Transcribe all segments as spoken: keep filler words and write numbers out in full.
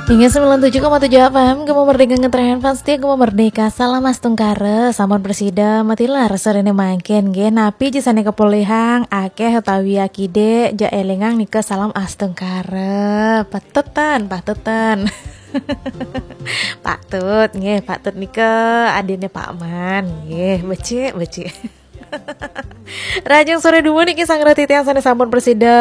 Hingga sembilan tujuh koma tujuh F M, Gema Merdeka ngetren fans setia Gema Merdeka. Salam astungkara, sampun prasida matilar sorene mangkin nggih. Napi jisane kepolihang, akeh utawi akide, ja elingang nika salam astungkara. Patetan, patetan. Pak Tut nggih, Pak Tut nika adine Pak Man nggih. Becik, becik. Rahajeng sore dumun niki sang reti tiang sane sampun prasida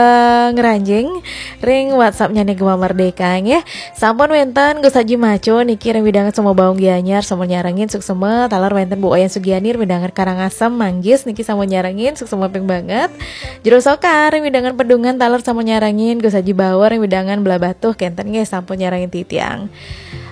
ngranjing ring WhatsApp-nyane Gema Merdeka nggih. Sampun wenten Gus Haji Maco niki ring wewidangan Sumbawa Baung Gianyar sampun nyarengin suksma, taler wenten Bu Wayan Sugiani ring wewidangan Karangasem Manggis niki sampun nyarengin suksma ping banget. Jero Soka ring wewidangan Pedungan taler sampun nyarengin, Gus Haji Bawor ring wewidangan Blahbatuh kenten nggih sampun nyarengin titiang.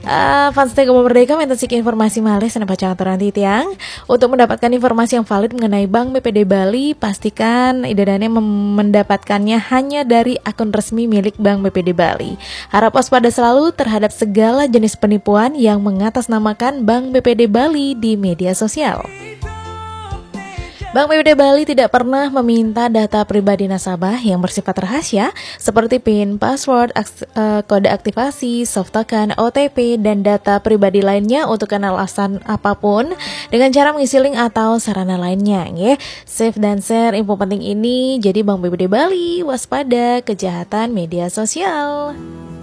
Eh, fans setia Gema Merdeka, wenten siki informasi malih sane pacang aturang titiang. Untuk mendapatkan informasi yang valid mengenai Bank B P D Bali, pastikan Ida Dane mem- mendapatkannya hanya dari akun resmi milik Bank B P D Bali. Harap waspada selalu terhadap segala jenis penipuan yang mengatasnamakan Bank B P D Bali di media sosial. Bank B P D Bali tidak pernah meminta data pribadi nasabah yang bersifat rahasia, seperti pin, password, aks- eh, kode aktivasi, soft token, O T P, dan data pribadi lainnya untuk alasan apapun dengan cara mengisi link atau sarana lainnya, nggih. Save dan share info penting ini, jadi Bank B P D Bali, waspada kejahatan media sosial.